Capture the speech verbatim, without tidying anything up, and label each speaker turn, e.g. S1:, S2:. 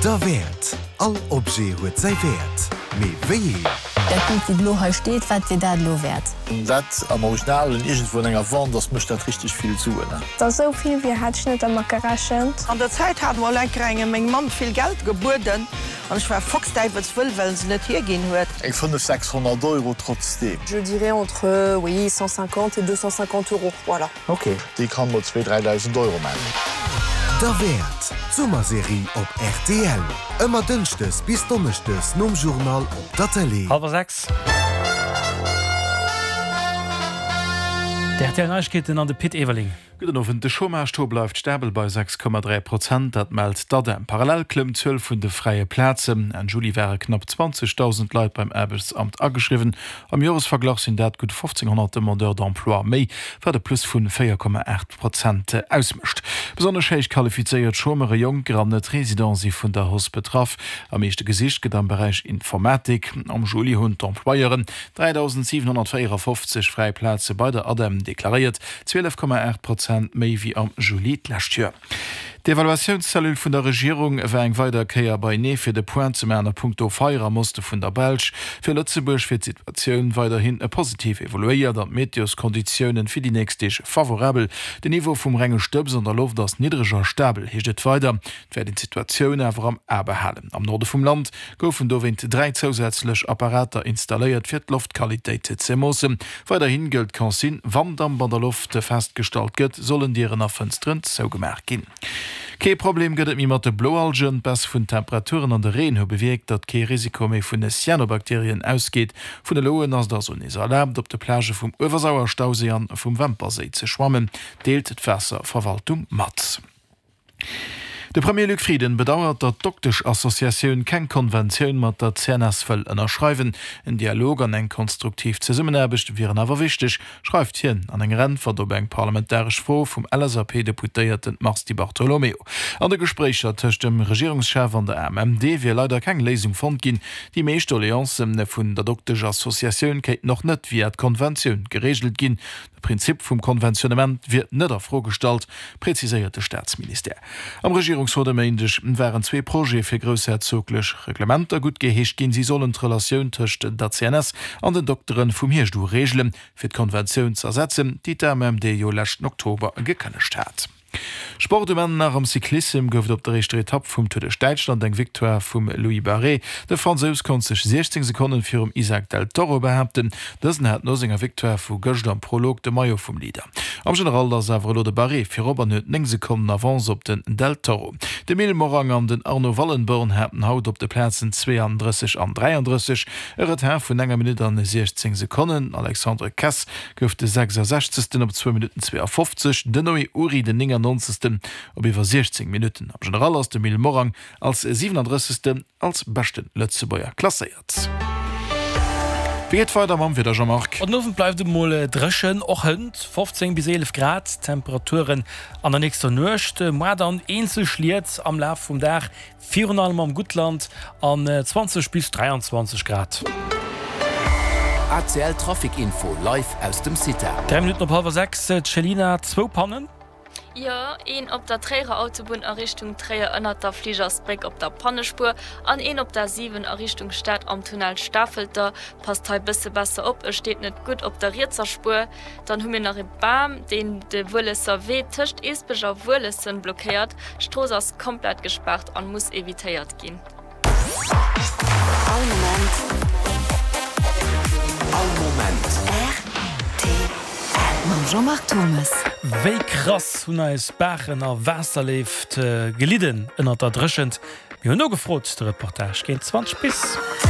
S1: Derwäert! All Objet huet säi Wäert. Mee wéi een?
S2: Dat Bild, wat elo hei steet, wat wier dat elo wäert?
S3: Wann dat am Originalen iergendwou an enger Wand ass, mécht dat richteg vill Suen.
S4: Da sou vill wéi hat ech net dermat gerechent.
S5: An der Zäit hat mol eng Kéier engem meng Mamm vill Geld gebueden an ech war foxdäiwelswëll, well se net hierginn huet.
S3: Eng fënnef, sechshonnert Euro trotzdeem.
S6: Je dirais entre, oui, cent cinquante et deux cent cinquante euros, voilà.
S3: Ok, déi kann mol zwee, dräidausend Euro maachen.
S1: Derwäert, d'Summerserie op rtl. Ëmmer dënschdes bis donneschdes nom Journal op der Tëlee.
S7: Hallwer sechs. D'R T L Neiegkeeten an de Pit Everling.
S8: Gudden Owend. De Chômage-Taux bleift stabel bei sechs Komma dräi Prozent, dat mellt d'ADEM. Parallel klëmmt d'Zuel vun de fräie Plazen. Enn Juli ware knapp zwanzegdausend Leit beim Aarbechtsamt ageschriwwen. Am Joresverglach sinn dat gutt fofzénghonnert Demandeurs d'emploi méi, wat e Plus vu véier Komma aacht Prozent ausmécht. Besonnesch héich qualifizéiert Chômeure, Jonker an Net-Residenten si vun der Hausse betraff. Am meeschte gesicht gëtt am Beräich Informatik. Am Juli hunn d'Employeuren dräidausendsiwenhonnertvéierafofzeg fräi Plaze bei der ADEM deklaréiert, zwielef Komma aacht Prozent méi wéi am Juli d'lescht Joer. D'Evaluatiounscellule vun der Regierung war eng weider Kéier beinee fir de Point ze maachen a punkto Feier am Oste vun der Belsch. Fir Lëtzebuerg wier d'Situatioun weiderhin positiv evoluéiert an d'Meteoskonditiounen fir déi nächst Deeg favorabel. Den Niveau vum renge Stëbs an der Loft ass niddreg a stabel, heescht et weider. Et wäert een d'Situatioun awer am A behalen. Am Norde vum Land goufen dowéint dräi zousätzlech Apparater installéiert, fir d'Loftqualitéit ze moossen. Weiderhi gëllt d'Consigne, Wann Damp an der Loft festgestallt gëtt, sollen Dieren a Fënsteren zougemaach ginn. Kee Problem gëtt et méi mat de Bloalgen. D'Baisse vun Temperaturen an de Reen hu bewierkt, datt kee Risiko méi vun Cyanobakterien ausgeet. Vun elo un ass et also nees erlaabt, op de Plagë vum Uewersauer-Stauséi an vum Wämperséi ze schwammen, deelt d'Waasserverwaltung mat. De Premier Luc Frieden bedauert, datt d'Dokteschassociatioun keng Konventioun mat der C N S wëll ënnerschreiwen. En Dialog an eng konstruktiv Zesummenaarbecht wieren awer wichteg, schreift hien an enger Äntwert op eng parlamentaresch Fro vum L S A P-Deputéierten Mars Di Bartolomeo. An de Gespréicher tëscht dem Regierungschef an der A M M D wier leider keng Léisung fonnt ginn. Déi meescht Doleancen vun der Dokteschassociatioun kéinten och net via d'Konventioun gereegelt ginn. De Prinzip vum Konventionnement wier net a Fro gestallt, preziséiert de Staatsministère. Am Regierungsrot e Méindeg waren zwee Projete fir groussherzoglech Reglementer guttgeheescht ginn. Si sollen d'Relatioun tëscht der C N S an den Dokteren vum Hierscht u reegelen, fir d'Konventioun z'ersetzen, déi d'A M M D jo leschten Oktober gekënnegt hat. Sport um Enn nach am Cyclissem gouf et op der éischter Etapp vum Tour duerch Däitschland eng Victoire vum Louis Barré. De Fransous konnt sech siechzéng Sekonnen virum Isaac del Toro behaapten. Dësen hat no senger Victoire vu gëscht am Prolog de Maillot vum Leader. Am General ass awer elo de Barré virop an huet néng Sekonnen Avance op den Del Toro. De Mil Morang an den Arno Wallenborn haten haut op de Plazen zweeandrësseg an dräiandrësseg e Retard vun enger Minutt an siechzéng Sekonnen. Alexandre Kess gouf de sechsasechzegsten op zwou Minutten zweeafofzeg, den Noé Uri den néngannonzegsten op iwwer siechzéng Minutten. Am General ass de Mil Morang als siwenandrëssegsten als beschte Lëtzebuerger klasséiert. Wéi geet weider mam Wieder, Jean-Marc?
S7: Den Owend bleift et mol dréchen, och hënt fofzéng bis eelef Grad Temperaturen an der nächster Nuecht. Moar dann eenzel Schliet am Laf vum Dag, virun allem am Guttland, an zwanzeg bis dräianzwanzeg Grad.
S9: R T L Trafic Info live aus dem CITA.
S7: Dräi Minutten op hallwer sechs, d'Chelina, zwou Pannen.
S10: Jo, een op der Tréierer Autobunn a Richtung Tréier ënnert der Fligersbréck op der Pannespuer an een op der siwen a Richtung Stad am Tunnel Stafelter. Passt hei bësse besser op, e steet net gutt op der rietser Spuer. Dann hu mir nach e Bam, deen de Wuelesser Wee tëscht Eesbech a Wuelessen blockéiert. D'Strooss ass komplett gespaart an muss evitéiert ginn.
S11: All Moment.
S9: All Moment.
S11: R T L. Mam Jean-Marc Thomes.
S7: Wéi krass hunn eis Baachen a Waasserleef gelidden ënnert der Dréchent? Mir hunn nogefrot. De Reportage géint zwanzeg bis.